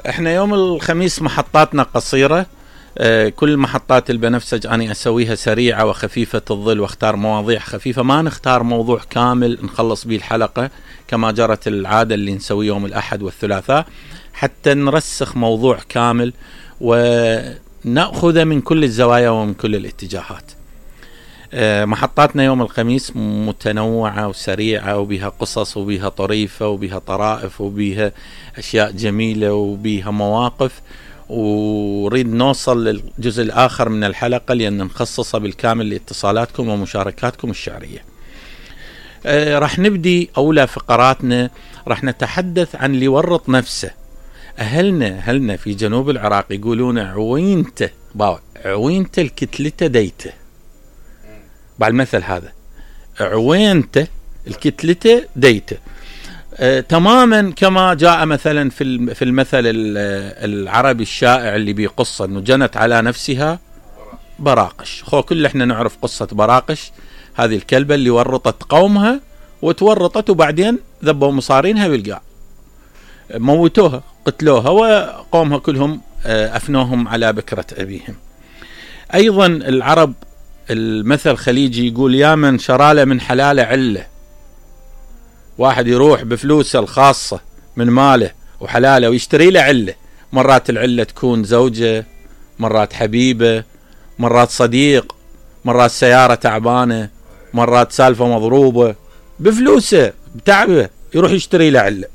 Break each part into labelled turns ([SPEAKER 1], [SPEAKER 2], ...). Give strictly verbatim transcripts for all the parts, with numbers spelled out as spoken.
[SPEAKER 1] احنا يوم الخميس محطاتنا قصيرة. اه كل محطات البنفسج أنا أسويها سريعة وخفيفة الظل، واختار مواضيع خفيفة، ما نختار موضوع كامل نخلص به الحلقة كما جرت العادة اللي نسوي يوم الأحد والثلاثاء، حتى نرسخ موضوع كامل ونأخذ من كل الزوايا ومن كل الاتجاهات. اه محطاتنا يوم الخميس متنوعة وسريعة، وبها قصص وبها طريفة وبها طرائف وبها أشياء جميلة وبها مواقف، وريد نوصل للجزء الآخر من الحلقة لأن نخصصه بالكامل لاتصالاتكم ومشاركاتكم الشعرية. آه راح نبدي أولى فقراتنا، راح نتحدث عن اللي ورط نفسه. أهلنا أهلنا في جنوب العراق يقولون عوينته باو عوينته الكتلته ديته، بعد المثل هذا عوينته الكتلته ديته. آه، تماما كما جاء مثلا في في المثل العربي الشائع اللي بيقص انه جنت على نفسها براقش. خو كل احنا نعرف قصة براقش، هذه الكلبة اللي ورطت قومها وتورطت وبعدين ذبوا مصارينها بالقاع، موتوها قتلوها وقومها كلهم آه افنوهم على بكرة ابيهم. ايضا العرب المثل الخليجي يقول يا من شراله من حلاله عله. واحد يروح بفلوسه الخاصة من ماله وحلاله ويشتري له عله، مرات العلة تكون زوجة، مرات حبيبة، مرات صديق، مرات سيارة تعبانة، مرات سالفة مضروبة، بفلوسه بتعبه يروح يشتري له عله.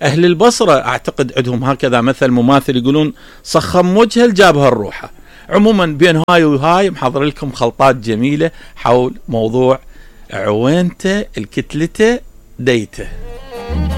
[SPEAKER 1] أهل البصرة أعتقد عندهم هكذا مثل مماثل، يقولون صخم وجهه لجابها الروحة. عموما بين هاي وهاي محضر لكم خلطات جميلة حول موضوع عوينته الكتلته ديته.